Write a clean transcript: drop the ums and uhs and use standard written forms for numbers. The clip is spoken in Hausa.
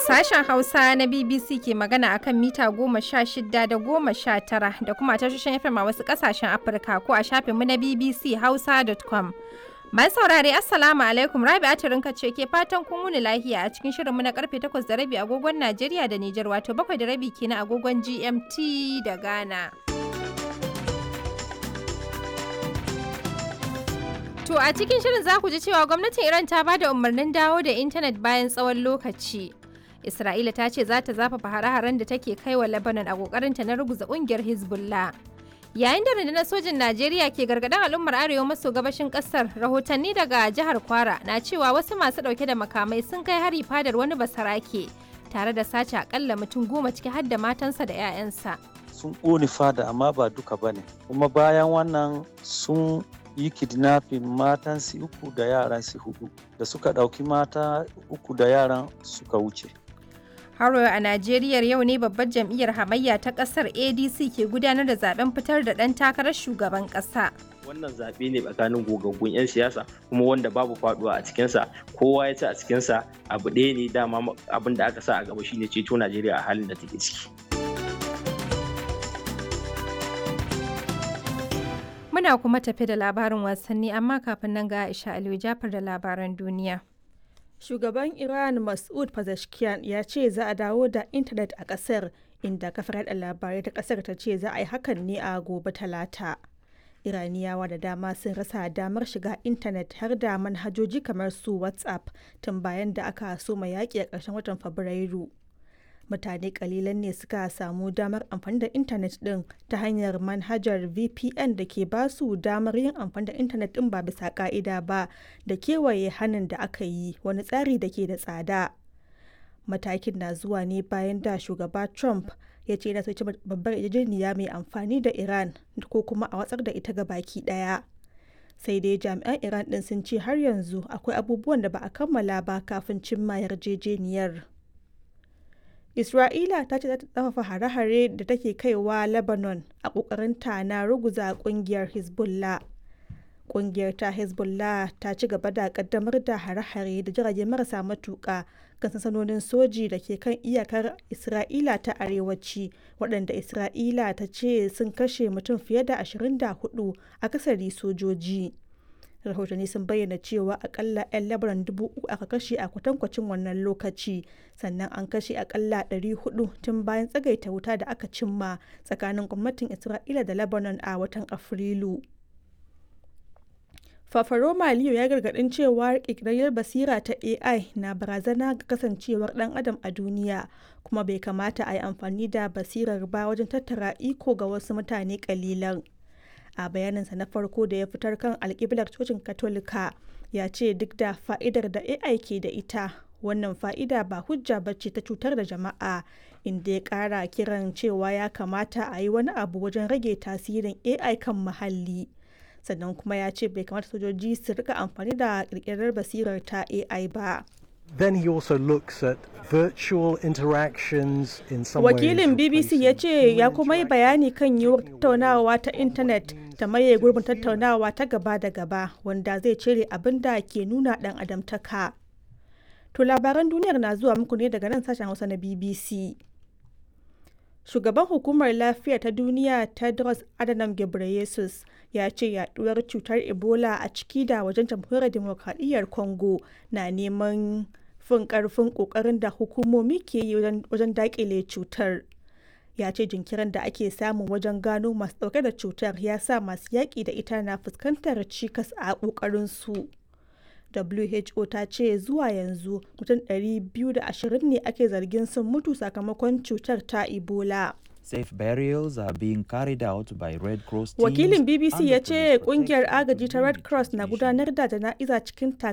Sashen Hausa na BBC ke magana akan mita 16 da 19 da kuma tashoshin FM a wasu ƙasashen Afirka ko a shafinmu na bbchausa.com. Masu saurare, Assalamu alaikum, Rabi'a Turinka ce ke fatan kun wuni lahiya a cikin shirinmu na karfe 8:30 agogon Najeriya da Nijar, wato 7:30 kenan agogon GMT da Ghana. To a cikin shirin za ku ji cewa gwamnatin Iran ta ba da umarnin dawo da intanet bayan tsawon lokaci. Isra'ila ta ce za ta zafafa hare-haren da take kai wa Lebanon a kokarinta na ruguza kungiyar Hezbollah. Yayin da rundunar sojin Najeriya ke gargaɗin al'ummar arewa maso gabashin ƙasar, rahotanni daga jihar Kwara na cewa wasu masu ɗauke da makamai sun kai hari fadar wani basarake tare da sace akalla mutum 10, ciki har da matansa da 'ya'yansa. Sun ƙone fada, amma ba duka ba ne. Kuma bayan wannan sun yi kidnapping matan su uku da yaran su hudu, da suka ɗauki mata uku da yaran suka wuce. Haro a Najeriya, yau ne babbar jam'iyyar hamayya ta kasar ADC ke gudanar da zaben fitar da ɗan takarar shugaban ƙasa. Wannan zaɓe ne tsakanin gogaggun 'yan siyasa, kuma wanda babu faduwa a cikinsa, kowa ya ci a cikinsa. Abu ɗaya ne dama, abin da aka sa a gaba shine ceto Najeriya a halin da take ciki. Muna kuma tafi da labarin wasanni, amma kafin nan ga Aisha Aliyu Jafar da labaran duniya. Shugaban Iran Masoud Pezeshkian ya ce za a dawo da intanet a kasar, inda kafar yada labarai ta kasar ta ce za a yi hakan ne a gobe Talata. Iraniyawa da dama sun rasa damar shiga intanet, har da manhajoji kamar su WhatsApp, tun bayan da aka soma yaƙi a ƙarshen watan Fabrairu. Mutane kalilan ne suka samu damar amfani da intanet din ta hanyar manhajar VPN da ke ba su damar yin amfani da intanet din ba bisa ka'ida ba da kewaye hannun da aka yi, wani tsari da ke da tsada. Matakin na zuwa ne bayan da shugaba Trump ya ce yana so babbar yarjejeniya mai amfani da Iran ko kuma a watsar da ita ga baki daya. Sai dai jami'an Iran din sun ce har yanzu akwai abubuwan da ba a kammala ba kafin cimma yarjejeniyar. Isra'ila ta ce za ta tsafafa hare-hare da take kaiwa Lebanon a ƙoƙarinta na ruguza ƙungiyar Hezbollah. Ƙungiyar ta Hezbollah ta ci gaba da ƙaddamar da hare-hare da jirage marasa matuƙa kan sansanonin soji da ke kan iyakar Isra'ila ta arewaci, waɗanda Isra'ila ta ce sun kashe mutum fiye da 24, akasari sojoji. Rahotanni sun bayyana cewa akalla 'yan Lebanon 3,000 aka kashe a kwatankwacin wannan lokaci, sannan an kashe akalla 400 tun bayan tsagaita wuta da aka cimma tsakanin gwamnatin Isra'ila da Lebanon a watan Afrilu. Fafaroma Leo ya gargadin cewa ƙirƙirarriyar basira ta AI na barazana ga kasancewar ɗan adam a duniya, kuma bai kamata a yi amfani da basirar ba wajen tattara iko ga wasu mutane kalilan. A bayaninsa na farko da ya fitar kan alkiblar cocin Katolika, ya ce duk da fa'idar da AI ke da ita, wannan fa'ida ba hujja bace ta cutar da jama'a, inda ya kara kiran cewa ya kamata a yi wani abu wajen rage tasirin AI kan muhalli. Sannan kuma ya ce bai kamata sojoji su rika amfani da kirkirar basirar ta AI ba. Then he also looks at virtual interactions in some Wakilin ways BBC ya ce ya kuma yi bayani kan yiwuwar tattaunawa ta intanet ta maye gurbin tattaunawa ta gaba da gaba, wanda zai cire abin da ke nuna dan adamtaka. To labaran duniyar na zuwa muku ne daga nan sashen Hausa na BBC. Shugaban Hukumar Lafiya ta Duniya Tedros Adhanom Ghebreyesus ya ce yaduwar cutar Ebola a ciki da wajen Jamhuriyar Demokradiyyar Congo na neman fin karfin kokarin da hukumomi ke yi wajen dakile cutar. Ya ce jinkirin da ake samu wajen gano masu dauke da cutar ya sa masu yaƙi da ita na fuskantar cikas a ƙoƙarinsu. WHO ta ce zuwa yanzu mutum 220 ne ake zargin sun mutu sakamakon cutar ta Ebola. Safe burials are being carried out by Red Cross teams Wakilin BBC under ya ce police kungiyar protection agaji ta during Red the Cross na transmission. gudanar da jana'iza cikin